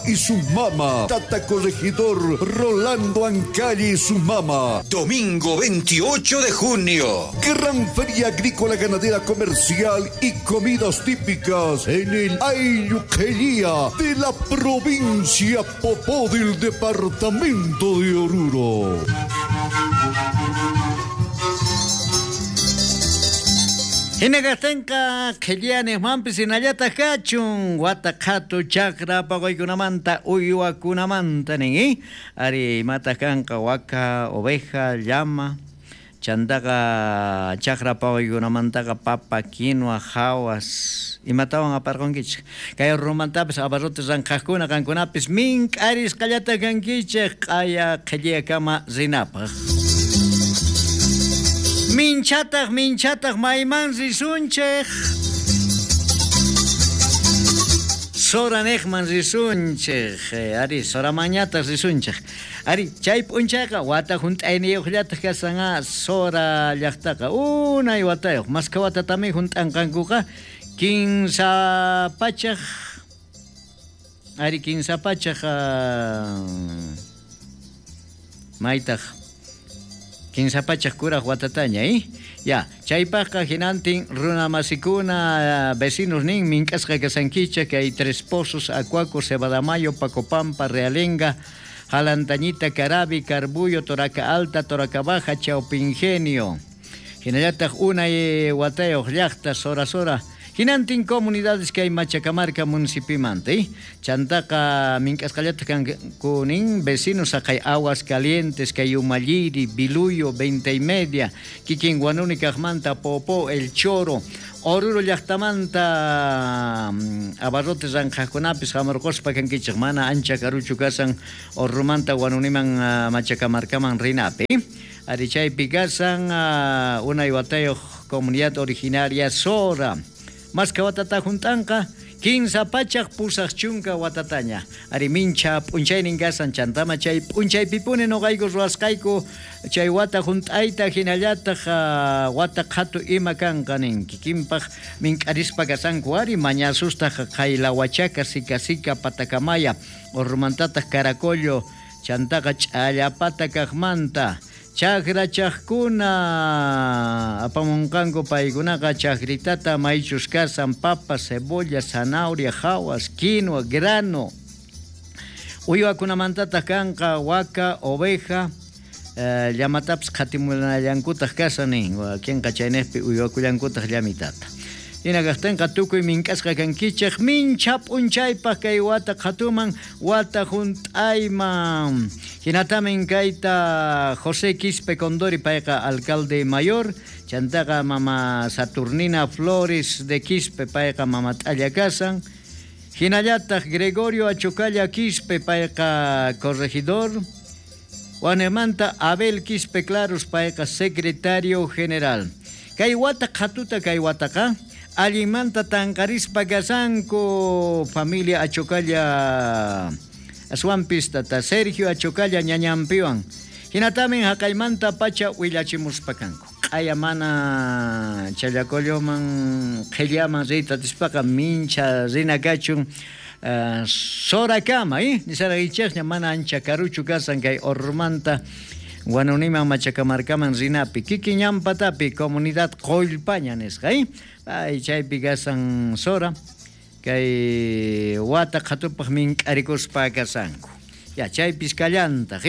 y su mama. Tata Corregidor Rolando Ancalli y su mama. Domingo 28 de junio. Gran Feria Agrícola Ganadera Comercial y comidas típicas en el Ayuquelía de la provincia Popó del departamento de Oruro. Hinakaqtinqa qhillaniqmanpis hinallataq kachun wata qhatu chakra paquykunamanta uywakunamanta nin ari imataq kanqa waka oveja llama chantaqa chakra paquykunamantaqa papa quinua hawas imatawan aparqunkichik kay rumantapis abarrotes ranqhaqkuna qankunapis mink'arisqallata kankichik q'aya qhilliyakama rinapaq. Minchataq, minchataq, mayman risunchik. Soranejman risunchik. Ari, soramañataq risunchik. Ari, chay p'unchayqa wata hunt'ayniyuqllataq kashan Sora llaqtaqa. Unay watayuq. Maskha watatami hunt'anqankuqa 15 pachaj. Ari, 15 pachaj maytaq. 15 pachaj kuraj watataña, Ya, chaypaqqa hinantin runamasikuna vecinos nin mink'asqa kasankichik kay Tres Pozos, Acuaco, Cebadamayo, Pacopampa, Realenga, Jalantañita, Carabi, Carbullo, Toraca Alta, Toraca Baja, Chaupingenio. Hinallataq unay watayuq llaqta, Sora Sora. Hinantin comunidades que hay Machacamarca municipimanta, Chantaqa mink'asqallataq kanku nin vecinos haqay Aguas Calientes, kay Umalliri, Biluyo, 20 y media, kikin Huanuni kaqmanta, Popó, El Choro, Oruro llaqtamanta abarrotes ranqhaqkunapis hamurquspa kankichik mana ancha karuchu kasan Orrumanta Huanuniman Machacamarcaman rinapi. Ari chaypi kasan unay watayuq comunidad originaria Sora. Maskha watata hunt'anqa 15 pachaj 80 watataña. Ari mincha p'unchaynin kasan chantama chay p'unchaypipuni noqayku ruwasqayku chay wata hunt'ayta hinallataq wata qhatu ima kanqa nin kikinpaq mink'arispa kasanku ari mañasustaq Qaylahuachaca, Sica Sica, Patacamaya, Orrumantataq Caracollo, chantaqa Ch'allapata kaqmanta. Chakrachaqkuna apamunqanku paykunaqa chakritata maychus kasan papa, cebolla, zanahoria, hawas, quinoa, grano. Uywakunamantataq kanqa waka, oveja, llamatapis qhatimunallankutaq kasan nin, wakinqa chaynejpi uywakullankutaq llamitata. Hina kaqtinqa tukuy mink'asqa kankichik mincha p'unchaypaq kay wata qhatuman wata hunt'ayman. Hinatamin kayta José Quispe Condori payqa alcalde mayor, chantaqa mama Saturnina Flores de Quispe payqa mama t'alla kasan. Hinallataq Gregorio Achocalla Quispe payqa corregidor. Wanemanta Abel Quispe Claros payqa secretario general. Kay wata qhatuta kay wataqa allinmanta tanqarispa kasanku familia Achocalla aswanpis tata Sergio Achocalla ñañanpiwan. Hinatamin haqaymanta pacha willachimuspa kanku. Q'aya mana Challacolloman qhillaman riyta atispaqa mincha rina kachun Sorakama, nisaraychikña mana ancha karuchu kasan kay Orrumanta Huanuniman Machacamarcaman rinapi kikin ñanpatapi comunidad Qollpaña nisqa, Ay chaypi kasan Sora kay wata qhatupaq mink'arikuspa kasanku. Ya chaypis kallantaq,